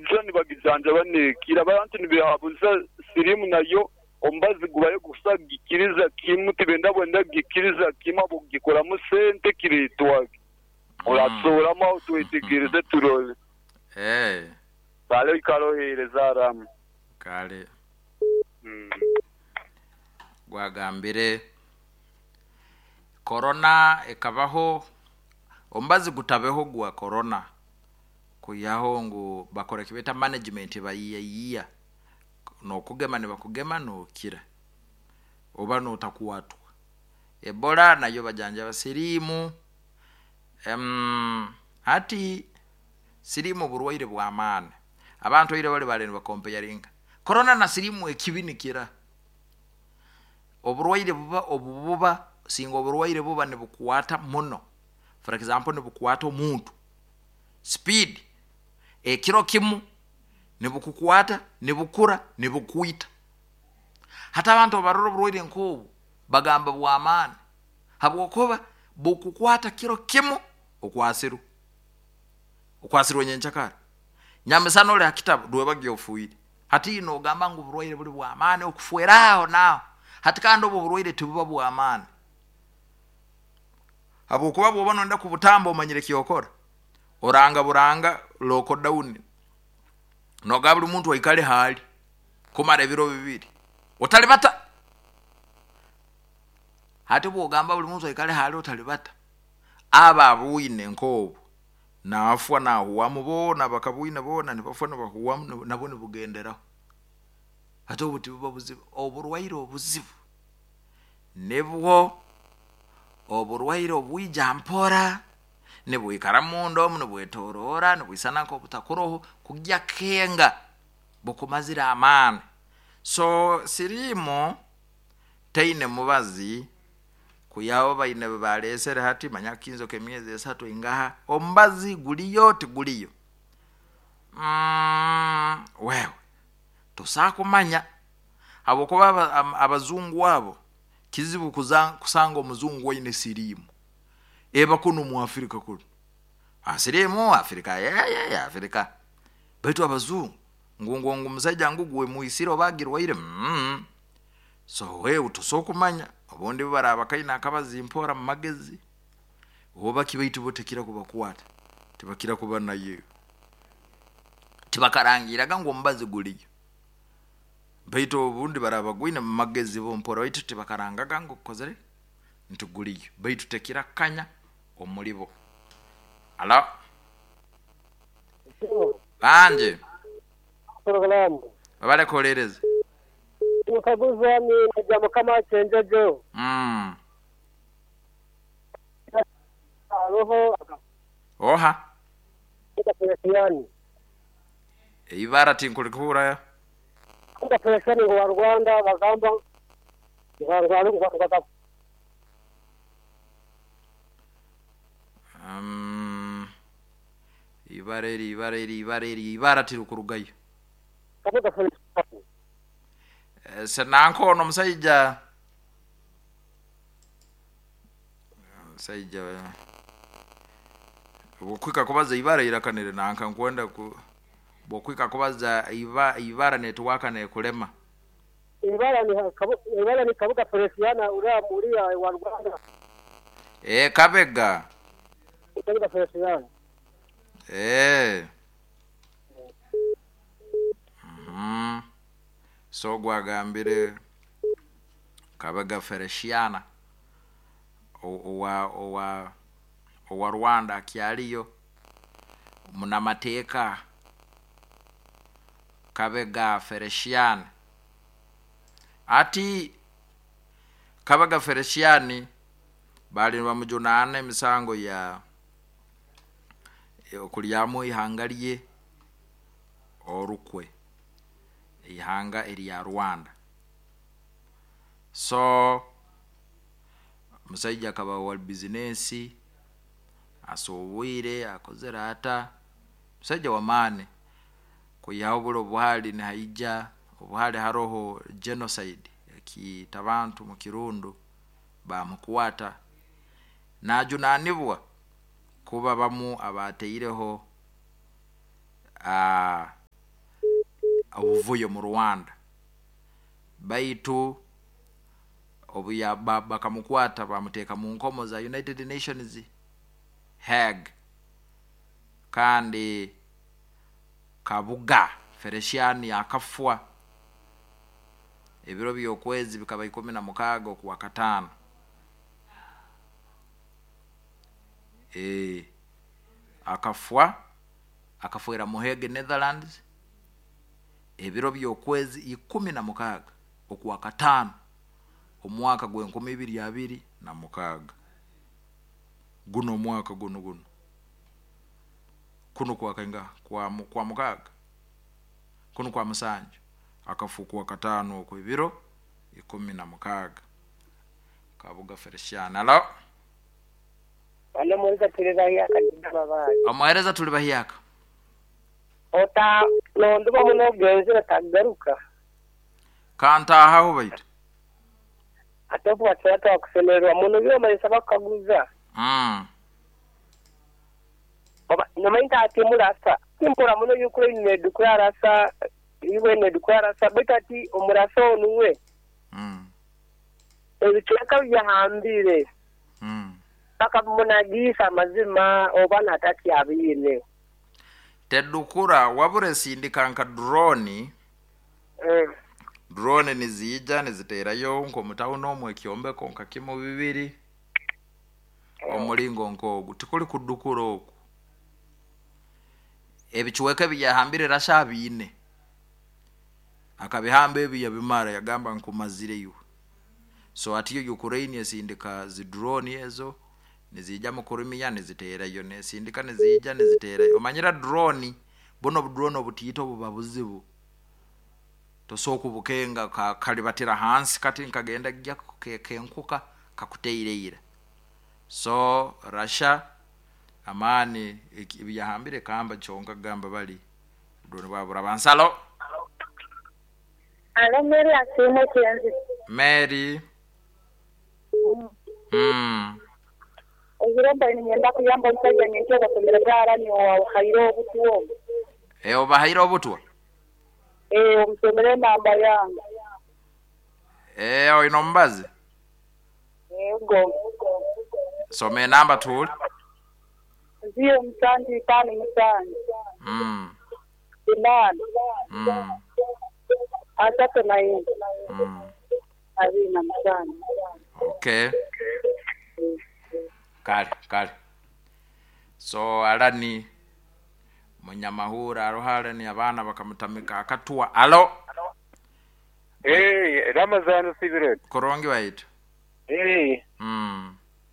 Neija nibagijanjaba neekira. Abantu nibeehabuza siriimu nayo omubazi gubayo gusa kugikiriza kimu tibenda bwenda kugikiriza kimu ahabw'okugikoramu sente kireetwage. Oratusoboramu aho twetegereze turole. Kale oikare oheereze Aramu. Kale. Gwagambire Korona ekabaho, omubazi gutabeho gwa Korona kwihaho ngu bakora ekibeeta management bayiyayiya nokugema nibakugema nokira oba notakwatwa. Ebola nayo bajanjaba siriimu, hati siriimu burwaire bw'amaani. Abantu ira bali baali nibakompeyaringa Korona na siriimu ekibi nikira. Oburwaire buba obu buba singa oburwaire buba nibukwata muno, for example nibukwata omuntu speed, ekiro kimu nibukukwata, nibukura, nibukwita. Hati abantu obu barora oburwaire nk'obu bagamba bw'amaani habwokuba bukukwata kiro kimu okwasirwe, okwasirwe nyenkyakara, nyamisana oli ha kitabu rwebagyo ofiire. Hati nogamba ngu oburwaire buli bw'amaani okufwera aho naaho. Hati kandi obu oburwaire tibuba bw'amaani habwokuba bwoba noyenda kubutamba omanyire ekyokora, oranga buranga lockdown, nogamba buli muntu aikale haali kumara ebiro bibiri otalibata. Hati obwogamba buli muntu aikale haali otalibata, abo abwine nk'obu nafwa nahuwamu boona abakabwine boona nibafwa nibahuwamu nabwo nibugenderaho. Hati obu tibuba buzibu, oburwaire obuzibu nibwo oburwaire obwija mpora, nibwikara munda omu nibwetoroora, nibwisana nk'obutakuroho kugya kenga bukumazire amaani. So siriimu taine mubazi kwihaho baine ebi baleesere hati manya akakinzo k'emyezi esatu ingaha, omubazi guliyo tiguliyo? Wewe tosobola kumanya habwokuba abazungu abo kizibu kusanga omuzungu aine siriimu eba kunu omu Africa kunu. Siriimu Africa Africa baitu abazungu ngu ngu omusaija ngu gwe mwisire oba agirwaire So wewe tosobora kumanya obundi obu baraaba bakaine akabazi mpora mu magezi oba ki baitu bo tekira kubakwata tibakira kuba nayo. Tibakarangirraga ngu omubazi guliyo baitu obundi baraaba bagwine mu magezi bo mpora baitu tibakarangaga ngu gukozire nti guliyo baitu tekira kukanya omuli bo. Halo, bangi webale kuhuliiriza. Nkaguza ni naija mukama Kyenjojo. Haroho. Oha? Kabuga Felesiani. Eibara tinkurikuhurra. Kabuga Felesiani ngu wa Rwanda bagamba ngu ngu Eibara eri eibara eri eibara eri eibara tirikurugayo. Kabuga Felesiani. Senanka ono omusaija omusaija obwokuhika kubaza ibara iraka niri nanka nkwenda ku obwokuhika kubaza ibara netiwaaka nekulema. Ibara ni ibara ni Kabuga Felesiana uriya uriya wa Rwanda. Eeh Kabega. Kabuga Felesiana. Eeh. So ogu agambire Kabega Felesiana owa owa Rwanda akyaliyo, munamateeka Kabega Felesiani. Hati Kabega Felesiani baali nibamujunaana emisango ya okulyamu ihanga lye orukwe, eihanga erya Rwanda. So omusaija akaba wa bizinensi, asubwire, akozere ata, musaija w'amaani kwihaho buli obuhali nihaija, obuhali haroho genocide ekiita bantu mu Kirundu baamukwata najunaanibwa kuba bamu abaataireho. obuvuyo mu Rwanda, baitu obu bakamukwata bamuteeka mu nkomo za United Nations Hague. Kandi Kabuga Felician akafwa ebiro by'okwezi bikaba 16 okwa kataano. Akafwa, akafwera mu Hague, Netherlands, ebiro by'okwezi 16 okwa kataano omwaka gw'enkumi ibiri abiri na mukaaga. Guno omwaka guno guno kuno kwakainga kwa mukaaga, kuno kwa musanju, akafwa okwa kataano okwo ebiro 16. Kabuga Felician. Alo. Alo, muhereza, tuli bahyaka babayi. Omuhereza, tuli bahyaka. Ota nonduba muno genzera tagaruka. Kantahaho baitu. Ate obu watwata wakusemererwa muno byomalisa bakaguza. Oba nomainta ati murasa timpura muno Ukraine nedukura rasa iwe nedukura rasa, baitu ati omurasa onuwe ebicweka byahambire bakamunagisa amazima oba natati abiine. Tedukura, wabure sindika nka drone. Drone niziija niziterayo nk'omutawuni omwe ekyombeko nka kimu bibiri, omulingo nk'ogu tikuli kudukura oku. Ebicweka ebi yahambire Rasha abiine, akabihamba ebi yabimara, yagamba nkumazire iwe. So atiyo Ukraine esindika zi drone ezo niziija mu Crimea niziterayo, nesindika niziija niziterayo. Omanyira drone buno, obudrone obutiito buba buzibu, tosobola kubukenga, kalibatira hansi kati nkagenda gya kenkuka kakuteire ira. So Russia amaani ebi yahambire kamba kyonka kugamba bali drone bwabura bansalo. Alo, Mary Asiimwe Kyenzi. Mary. Ebiro mbaire ninyenda kuyamba omusajja nyenkya basomere bwarani owahaire obutwa obu. Obahaire obutwa? Omusomere enamba yange. Oine omubazi? Yego. Soma enamba tuule. 0757 8 34 27. Okay, kale kale. So alani munyamahura aroho, alani abaana bakamutamika akatwa. Alo. Ramazani usibire. Kurungi waitu.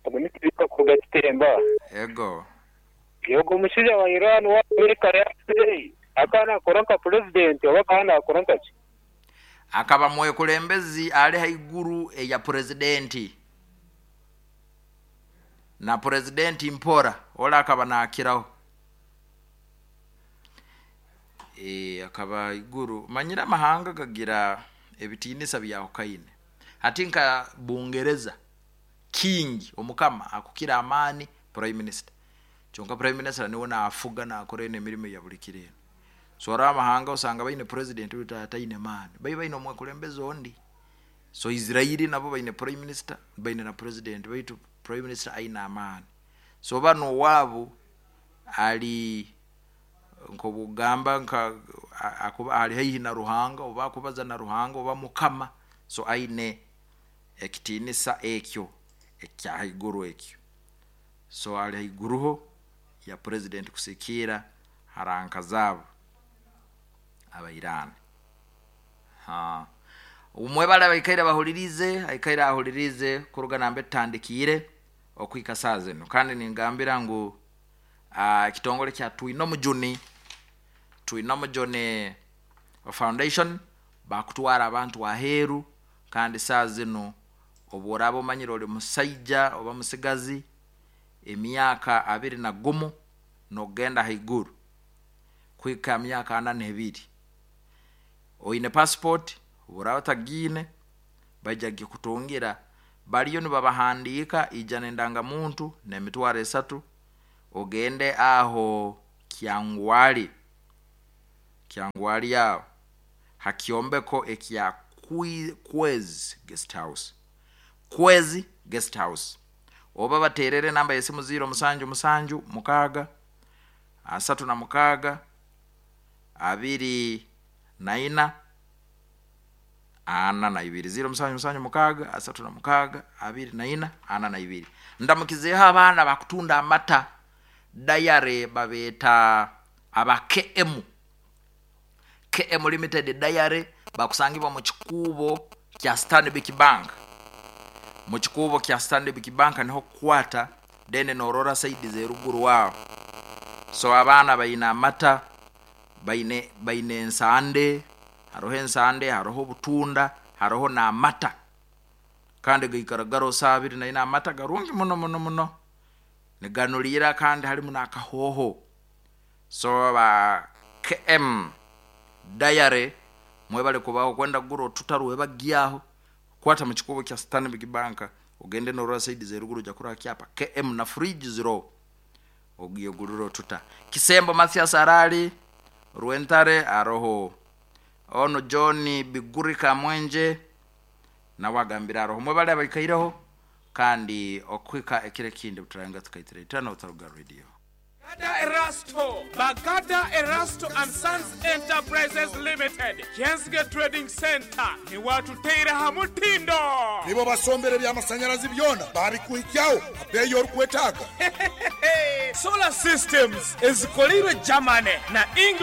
Omunisitiri kuruga Kitemba. Ego. Yogo omushaija wa Iran wa Amerika yafire akaba nakora nka president oba akaba nakora nkaki? Akaba mwekulembezi ali haiguru eya purezidenti na purezidenti mpora ola akaba nakiraho. Akaba iguru. Manyira amahanga gagira ebitiinisa byahukaine. Hati nka Bungereza, king, omukama akukira amaani prime minister, kyonka prime minister niwe naafuga, nakora eno emirimo ya buli kiro eno. So ora amahanga osanga baine president oitu ataine maani, bai baine omwekulembezi ondi. So Israeli nabo baine prime minister, baine na president, baitu prime minister aine amaani. So bano owaabo ali nkobugamba nka akuba ali haihi na Ruhanga, oba akubaza na Ruhanga oba mukama. So aine ekitiinisa ekyo ekya haiguru ekyo. So ali haiguruho ya president kusikiira haranka zaabo Abairani. Ha, umwebale abaikaire bahulirize, aikaire ahulirize kuruga nambe tutandikiire okuhika saa zinu. Kandi ningambira ngu ekitongole kya Twinomujuni, Twinomujuni Foundation bakutwara abantu aheeru. Kandi saa zinu obu oraaba omanyire oli musaija oba musigazi emyaka 21 n'okugenda haiguru kuhika myaka 42, oine passport, obu oraaba otagiine baija kugikutungira, bariyo nibabahandiika. Ija n'endangamuntu n'emitwaro 3, ogende aho Kyangwali, Kyangwali aho. Ha kyombeko ekya Kwezi Guest House, Kwezi Guest House, oba baterere namba y'esimu 077 636 24 42, 077 636 24 42. Ndamukizeeho abaana bakutunda amata dayare, babeeta aba KM, KM Limited Dairy, bakusangibwa mu kikuubo kya Stanbic Bank. Mu kikuubo kya Stanbic Bank niho kukwata, then norora saidi z'eruguru aho. So abaana baine amata, baine ensande, haroho ensande, haroho obutunda, haroho n'amata, kandi gaikara garoho saaha 24. Amata garungi muno muno muno, niganuliira kandi harimu n'akahooho. So ba KM Dairy mwebale kubaho. Kwenda kugura otuta rwebagyaho, kwata mu kikuubo kya Stanbic Bank, ogende norora saidi z'eruguru, ojja kurora kyapa KM na fridge ziroho, ogigurire otuta. Kisembo Mathias arali Rwentare, aroho ono John Biguri Kamwenje nawe agambire aroho. Mwebale abaikaireho, kandi okuhika ekiro ekindi buturayenga tukaitira itana otaruga radio. Bagada Erasto, Bagada Erasto and Sons Enterprises Limited, Kyenzige Trading Centre niwe atuteire aha mutindo. Nibo basombera eby'amasannyalazi byona baabikuhikyaho ha bbeeyi orikwetaaga. Solar systems ezikoleirwe Germany na England.